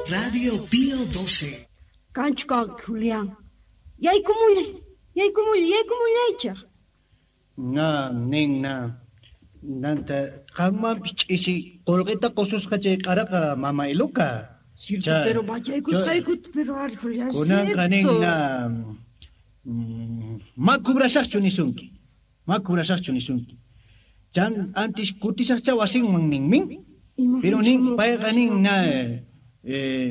Radio Pío 12. Kanchu kanki, Julián. Yaykumullay, yaykumullay, yaykumullaychej. Na, nin na. Nanta, qanmanpis ch'isi qullqita qususqa chay q'araqa mama Iluka. Cierto, pero machaykusqaykuta, pero ari, Julián, Kunanqa nin cierto. na. Ma cobrasaqchu nisunki. Ma cobrasaqchu nisunki. Chan antis kutisaqcha wasinman ninmin. Pero nin payqa nin na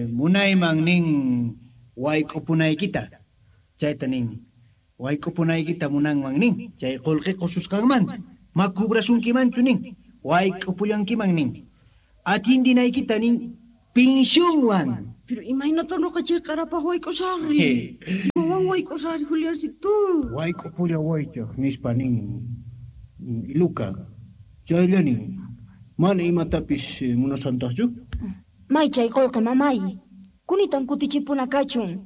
munayman nin wayk'upunaykita. Chayta nin. Wayk'upunaykita munanman nin. Chay qullqi qususqanmanta. Ma cobrasunkimanchu nin. Wayk'upullankiman nin. Atindinaykita nin pensionwan. Pero imaynata noqa chay q'arapaq wayk'usaqri. Imawan wayk'usaqri, Juliancito. Wayk'upulla waychaq nispa nin Iluka. Chaylla nin. Mana imatapis munasantaqchu? May chay qullqi mamay. Kunitan kutichipuna kachun.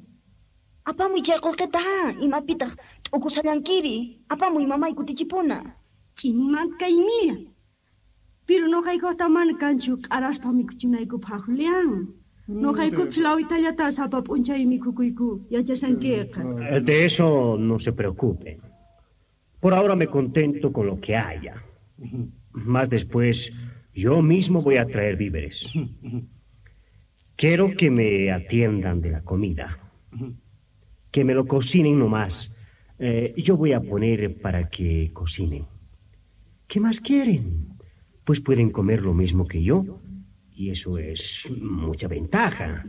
Apamuy chay qullqita, ha, imapitaq t'ukusallankiri. Apamuy mamay kutichipuna. Ch'inmanta kaymilla. Pero noqaykuta mana kanchu q'araspa mikhuchinaykupaq, Julián. Noqaykupis lawitallata sapa p'unchay mikhukuyku, yachashankiqa. De eso no se preocupen. Por ahora me contento con lo que haya. Más después, yo mismo voy a traer víveres. Quiero que me atiendan de la comida. Que me lo cocinen nomás. Yo voy a poner para que cocinen. ¿Qué más quieren? Pues pueden comer lo mismo que yo. Y eso es mucha ventaja.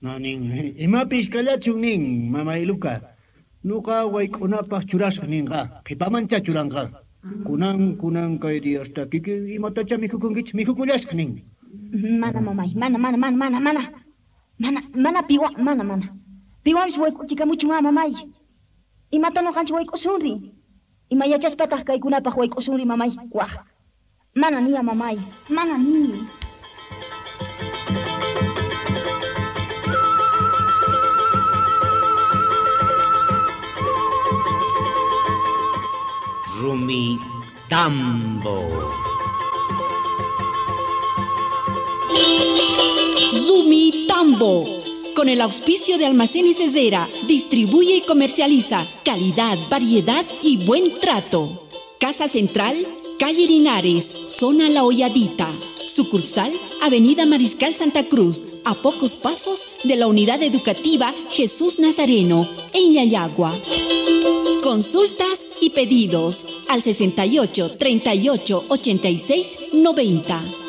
No, nin. Imapis kallachun nin, mama Iluka. Nuqa wayk'unapaq churasaq ninqa. Qhipamancha churanqa. Kunan, kunan kay diyasta kiki imatacha mikhukunkichik, mikhukullasaq nin. Mana, mamay, mana, mana, mana, mana, mana. Mana, mana piwa, mana, mana. Piwanpis wayk'uchikamuchun, ah, mamay. Imata nuqanchik wayk'usunri. Ima yachaspataq kaykunapaq wayk'usunri, mamay. Waj. Mana niya, mamay. Mana ni. Rumi Tambo. Rumi Tambo. Con el auspicio de Almacén y Cesera, distribuye y comercializa calidad, variedad y buen trato. Casa Central, calle Linares, zona La Hoyadita. Sucursal, Avenida Mariscal Santa Cruz, a pocos pasos de la Unidad Educativa Jesús Nazareno, en Llallagua. Consultas y pedidos al 68 38 86 90.